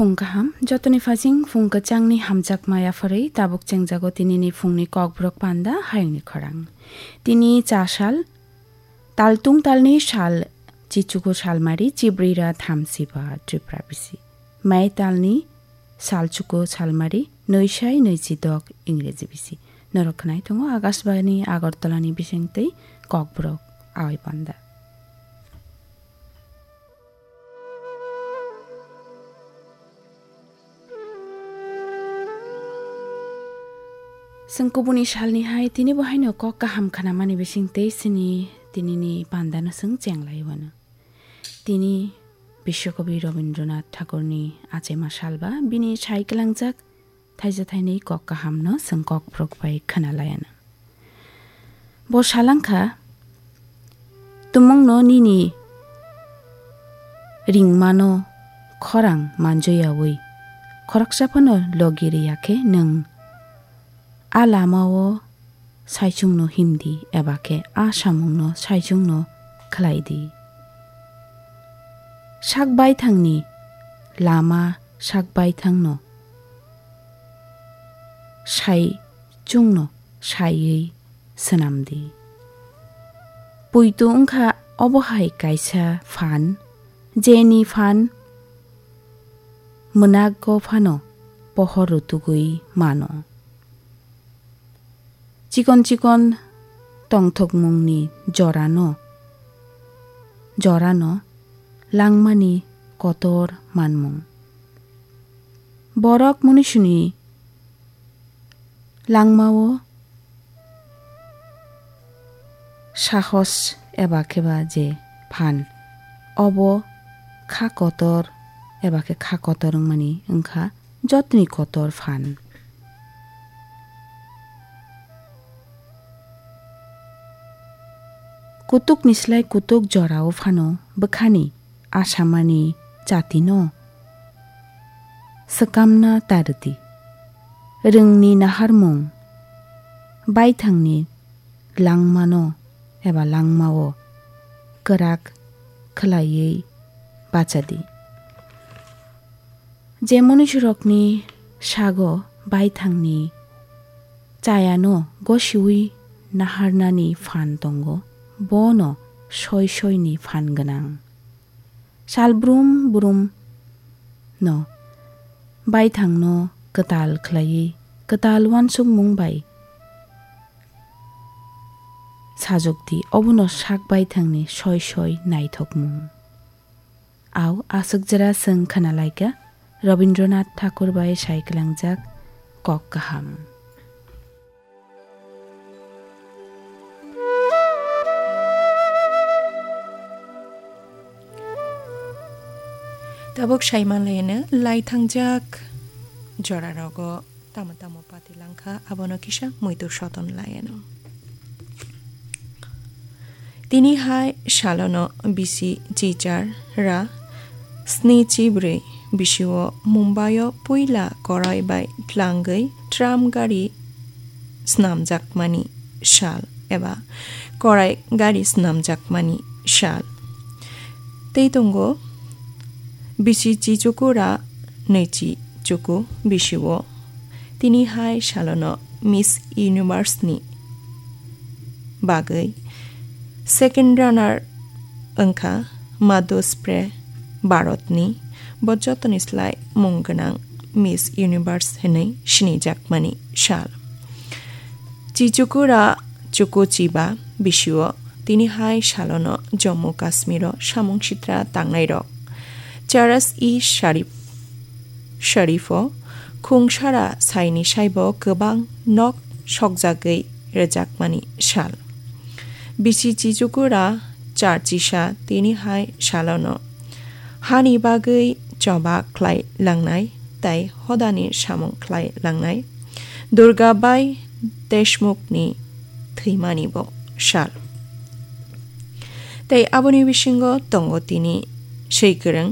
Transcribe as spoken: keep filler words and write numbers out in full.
Phung kaham, jotoni phajing phung kwchangni hamjakma yapharwi tabuk chengjago tinini phungni kokborok panda hayungni khorang. Tini cha sal, taltung talni sal, chichuku salmari chibrira thamsiba Tripura bisi. Mai talni sal chuku salmari nwisai nwichidok Ingreji bisi. Norok khwnai tongo Akashbani Agartalani bisingtwi kokborok awi panda. Chwng kubuni salni hai tini bo haino kok kaham khnamani bising tei chini tinini pandano chwng chenglai wano. Tini Biswakobi Rabindranath Thakurni achaima salba bini sai kwlangjak thaisa thainwi kok kahamno chwng kokborok bai khwnalaianw. Bo salangkha, tumungno nini ringmano khorang manjoyawi, khoroksa phano logi riyakhe nwng a lamao saichungno himdi eba khe a samungno saichungno khlaidi. Sak baithangni lama sak baithangno sai chwngno saiwi swnamdi. Poito wngkha obo hai kaisa phan, jeni phan mwnago phano pohor rutugwi mano. Chikon chikon tongthokmungni jorano, jorano langmani kotor manmung. Borok munisuni langmao sahos eba kheba je phan, obo kha kotor eba khe kha kotor wngmani wngkha jotoni kotor phan. Kutukni slai kutuk jorao phano bwkhani asamani chatino swkamna ta rwdi. Rwngni naharmung, baithangni langmano eba langmao kwrak khwlaiwi bachadi. Je munisirokni sago baithangni chayano gosiwi naharnani phan tongo, bono soi soini phan gwnang. Sal brum brum no baithangno kwtal khlaiwi, kwtal uansukmung bai sajwkdi, obono sak baithangni soi soi naithokmung. Au aswk jora chwng khwnalaikha Rabindranath Thakur bai sai kwlangjak kok kaham. Tabuk sai manlaino lai thangjak jorarogo tamo tamo pati langkha, abono kisa muitu soton laiano. Tini hai salono bisi chichar ra sni chibrwi bisio Mumbaio puila korai bai tlangwi tram gari snamjakmani sal eba korai gari snamjakmani sal. Tei tongo bisi chichuku ra nwichi chuku bisio tini hai salono Miss Universe ni bagwi second runner wngkha Madhu Spray Bharat ni, bo jotoni slai mung gwnang Miss Universe hinwi sinijakmani sal. Chichukura chuku chiba bisio tini hai salono Jammu Kashmiro samung sitra tangnairok Charas-e-Sharif, Sharifo khungsara saini saibo kwbang nok sokjagwi rwjakmani sal. Bisi chichukura charchisa tini hai salono hani bagwi choba khlai langnai tei hodani samung khlai langnai Durga Bai Deshmukhni thwimani bo sal. Tei aboni bisingo tongo tini swi kwrwng